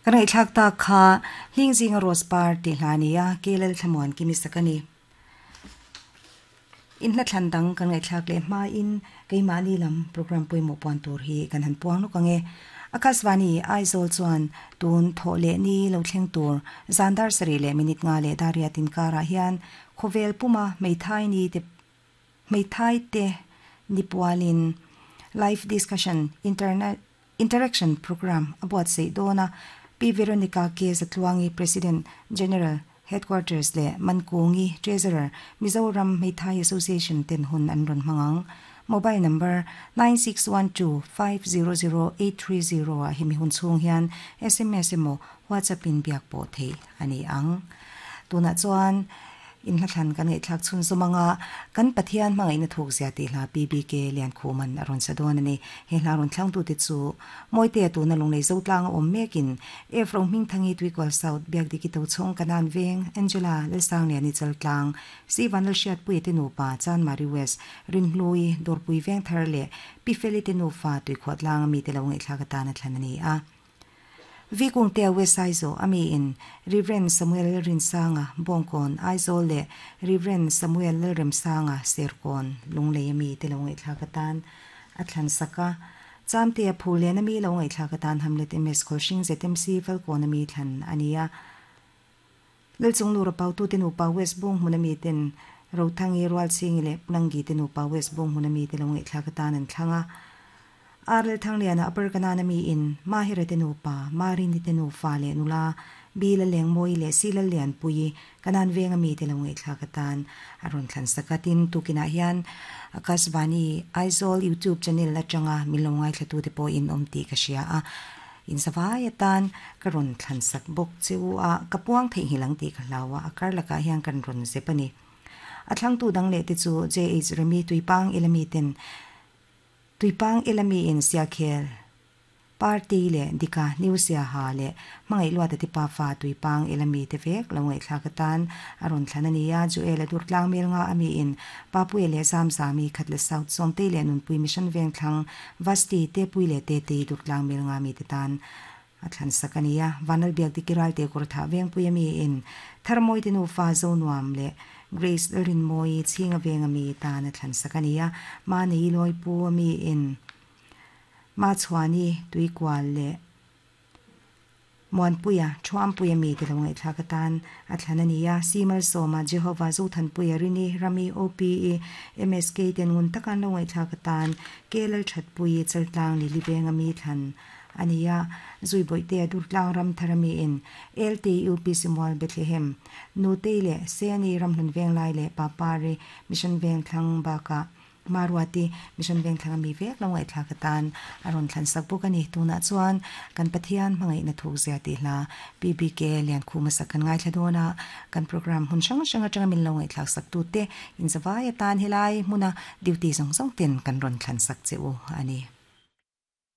Kan ngaihthlak tak kha Hling zinga Rose par tih hla a ni a, Kelal Thlamuan Kimi sak a ni. In hla thlan dang kan ngaihthlak leh hmain keimahni lam program pawimawh puan tur hi kan han puang lawk ang e. Akasvani, Aizawl chuan tun thawh leh ni lo thleng tur zan dar sarih leh minute nga leh dar riat inkarah hian khawvel puma hmeithai ni te hmeithai te ni pualin live discussion internet interaction program a buatsaih dawn a, Pi Veronica K. Zatluangi, President General, Headquarters leh Mankungi, Treasurer, Mizoram Hmeithai Association ten hun an rawn hmang ang. Mobile number, 9612500830 ah hemi hun chhung hian sms emaw WhatsApp in biak pawh theih a ni ang. Tunah chuan inhlathlan kan ngaihthlak chhun zawm anga kan Pathian hmangaihna thuk zia tih hla PBK Liankhuman a rawn sa dawn a ni. He hla rawn thlangtute chu Mawitea tuna Lunglei Zotlang a awm mekin F Rohmingthangi Tuikual South, Biakdiki Tochhawng Kanan Veng, Angela Lalsangliani Chaltlang, Si Vanlalhriatpuia te nupa Chanmari West, Rinhlui, Dawrpui Vengthar leh Pi Feli te nufa Tuikhuahtlang a mite lo ngaihthlak atan a thlan a ni a. V Kungtea West Aizawl a miin Rev Samuel Rinsanga, Bawngkawn, Aizawl leh Rev Samuel Lalremsanga, Serkawn, Lunglei a mite lo ngaihthlak atan a thlan sak a. Chamtea Phullen a mi lo ngaihthlak atan Hamlet MS Khawlhring ZMC Falkawn a mi thlan a ni a. Lalchunglura Pautute nupa West Bung hmun a mi ten Rothangi, Rualchhingi leh Pulanggi te nupa West Bung hmun a mi te lo ngaihthlak atan an thlang a. Ar Lalthangliana Upper Kanaan a mi in Mahira te nupa, Marini te nufa leh nula Bi Lalengmawii leh Si Lallianpuii Kanaan veng a mi te lo ngaihthlak atan a rawn thlan sak a. Tin, tukinah hian Akashvani Aizawl YouTube channel atanga min lo ngaithlatute pawh in awm tih ka hria a. In zavai atan ka rawn thlan sak bawk che u a, ka puang theihnghilh ang tih ka hlau a, a kar lakah hian kan rawn zep a ni. A thlangtu dang leh te chu JH Remi Tuipang Elami ten Tuipang Elami in Siakhel Party leh Dika New Siaha leh Hmangaih Luata te pafa Tuipang Elami te vek lo ngaihthlak atan a rawn thlan a ni a, Joel a dur tlang mel nga ami in Papuia leh Zamzami Khatle South Sawmtei leh Nunpui Mission Vengthlang Vasti, Tepui leh Tetei Durtlang mel nga mite tan a thlan sak a ni a. Vanlalbiak Diki Ralte kawr thah Vengpui a mi in Tharmawi te nufa Zonuam leh Grace Lalrinmawi Chhinga Veng a mi tan a thlan sak a ni a. Mahni Lawipu a mi in Machhuani Tuikual leh Muanpuia, Thuampuia mite lo ngaihthlak atan a thlan a ni a. Si Malsawma, Jehovah, Zothanpuia, Rini, Rami, OPE, MSK ten ngun taka an lo ngaihthlak atan Ke Lalthatpuii, Chaltlang, Lili Venga mi thlan a ni a. Zuibawihtea, Durtlang Ramthara miin LT, UPC Mual, Bethlehem, Nutei leh Seni, Ramhlun Venglai leh Papari, Mission Vengthlang bakah Maruati, Mission Vengthlang a mi vek lo ngaihthlak atan a rawn thlan sak bawk a ni. Tunah chuan kan Pathian hmangaihna thuk zia tih hla PBK Liankhuma sak kan ngaithla dawn a, kan program hmun hrang hrang atanga min lo ngaihthlak sak tute inzavai atan helai hmuna duty zawng zawng ten kan rawn thlan sak che u a ni.